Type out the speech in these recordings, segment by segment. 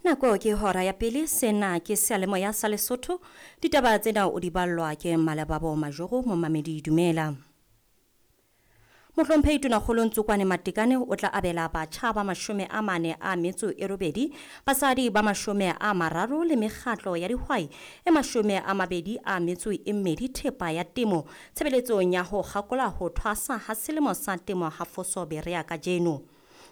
Nako ke hora ya pele, sena ke seyalemoya sa Lesotho. Ditaba tsena o di ballwa ke Malebabo Majoro, momamedi dumela. Mohlomphehi Tonakgolo Ntsokwane Matekane o tla abela batjha ba 48, basadi ba 30 le mekgatlo ya dihwai e 22 thepa ya temo tshebeletsong ya ho kgakola ho thwasa ha selemo sa temo ha Foso Berea kajeno.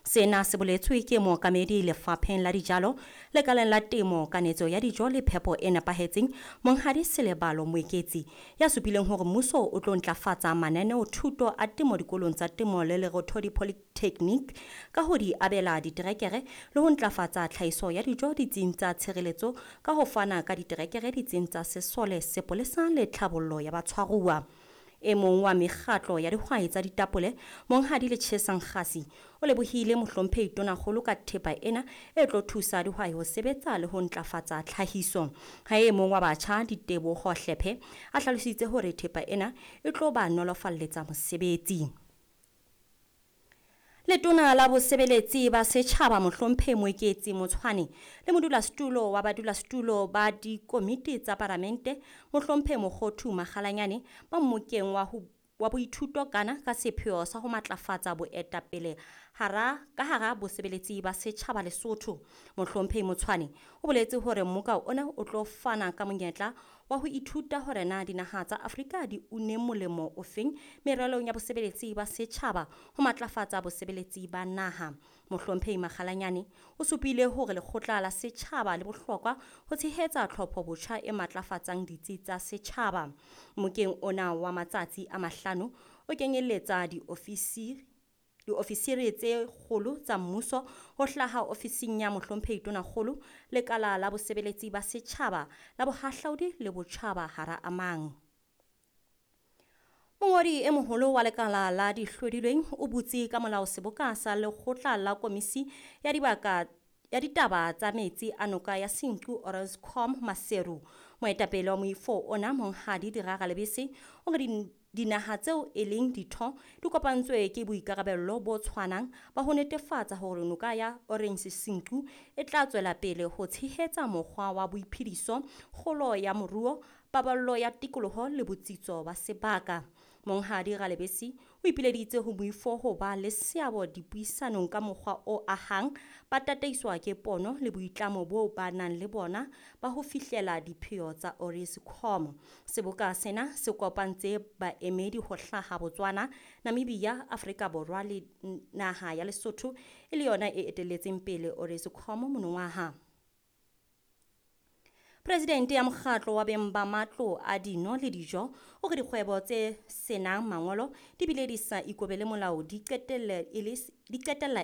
Sena se boletswe ke mookamedi lefapheng la dijalo, lekaleng la temo, kanetso ya dijo le phepo e nepahetseng, Monghadi Selebalo Moeketsi, ya supileng hore mmuso o tlo ntlafatsa mananeo thuto a temo dikolong tsa temo le Lerothodi Polytechnic ka ho di abela diterekere le ho ntlafatsa tlhahiso ya dijo ditsing tsa tshireletso ka ho fana ka diterekere ditsing tsa sesole, sepolesa le tlhabollo ya batshwaruwa. E mong wa mekgatlo ya dihwai tsa ditapole, Monghadi Letjhesa Nkgasi, o lebohile mohlomphehi Tonakgolo ka thepa ena e tlo thusa dihwai ho sebetsa le ho ntlafatsa tlhahiso. Ha e mong wa batjha, Diteboho Hlephe, a hlalositse hore thepa ena e tlo ba nolofalletsa mosebetsi. Letona la bosebeletsi ba setjhaba mohlomphehi Moeketsi Motshwane le modulasetulo wa badulasetulo ba dikomiti tsa paramente mohlomphehi Mokgothu Makgalanyane ba mmokeng wa boithuto kana ka sepheo sa ho matlafatsa boetapele hara ka hara bosebeletsi ba setjhaba Lesotho. Mohlomphehi Motshwane o boletse hore mmoka ona o tlo fana ka monyetla wa ho ithuta hore na dinaha tsa Afrika di une molemo ofeng meralong ya bosebeletsi ba setjhaba ho matlafatsa bosebeletsi ba naha. Mohlomphehi Makgalanyane o supile hore lekgotla la setjhaba le bohlokwa ho tshehetsa tlhopho botjha e matlafatsang ditsi tsa setjhaba. Mmokeng ona wa matsatsi a 5 o kenyeletsa diofisiri tse kgolo tsa mmuso ho hlaha ofising ya mohlomphehi Tonakgolo, lekala la bosebeletsi ba setjhaba, la bohahlaudi le botjhaba hara a mang. Mongodi e moholo wa lekala la dihlodilweng o butse ka molao seboka sa lekgotla la komisi ya dibaka ya ditaba tsa metsi a noka ya Senqu Orenscom Maseru. Moetapele wa moifo ona Monghadi Diraga Lebese o re dinaha tseo e leng ditho di kopantswe ke boikarabello bo tshwanang ba ho netefatsa hore noka ya Orange Senqu e tla tswela pele ho tshehetsa mokgwa wa boiphediso, kgolo ya moruo, paballo ya tikoloho le botsitso ba sebaka. Monghadi Ralebese o ipileditse ho moifo ho ba le seabo dipuisanong ka mokgwa o ahang, ba tataiswa ke pono le boitlamo bo ba nang le bona ba ho fihlela dipheo tsa Orenscom. Seboka sena se kopantse baemedi ho hlaha Botswana, Namibia, Afrika Borwa le naha ya Lesotho e le yona e etelletseng pele Orenscom monongwaha. Presidente ya mokgatlo wa beng ba matlo a dino le dijo o re dikgwebo tse senang mangolo di bile di sa ikobele molao di qetella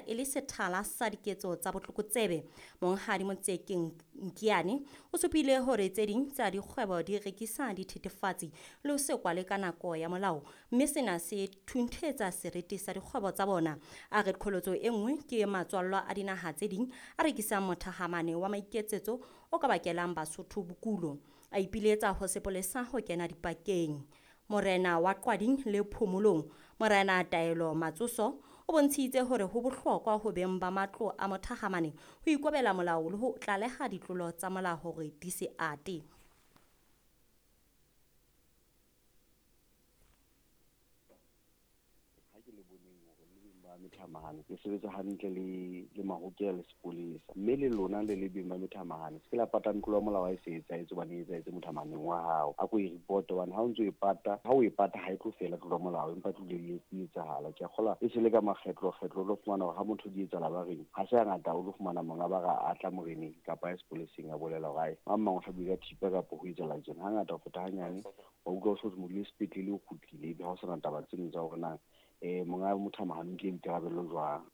e le sethala sa diketso tsa botlokotsebe. Monghadi Motseke Nkiane o supile hore tse ding tsa dikgwebo di rekisa dithethefatsi le ho se kwale ka nako ya molao, mme sena se thunthetsa seriti sa dikgwebo tsa bona. A re qholotso e nngwe ke matswallwa a dinaha tse ding a rekisang mothahamane wa maiketsetso o ka bakelang Basotho bokulo. A ipiletsa ho sepolesa ho kena dipakeng. Morena wa Qwading le Phomolong, Morena Taelo Matsoso, o bontshitse hore ho bohlokwa ho beng ba matlo a mothahamane ho ikobela molao le ho tlaleha ditlolo tsa molao hore di se ate. Methamahane ke sebetsa hantle le mahokela le sepolesa, mme le lona le le beng ba methamahane se ke la pata ntlo ya molao ha e se etsahetse, hobane e etsahetse mothamahaneng wa hao. A ko e report, hobane ha o ntso e pata, ha o e pata ha e tlo fela tlolo ya molao, empa tlo le e etsahala. Ke a kgolwa e se le ka makgetlo kgetlo o tlo fumana hore ha motho di etsahala ba reng ha se hangata o tlo fumana monga ba ra a tla moreneng kapa ya sepoleseng a bolela hore ae mang mang o hlabile ka thipa kapa ho etsahala tjena. Hangata ho feta hanyane wa utlwa o so module sepetlele o kgutlile, ebe ha o sana taba tseno tsa hore na monga mothamahane ke boikarabello jwang.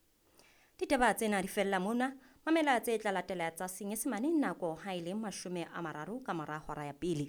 Ditaba tsena di fella mona. Mamela tse tla latela tsa Senyesemane nako ha e le 30 ka mora hora ya pele.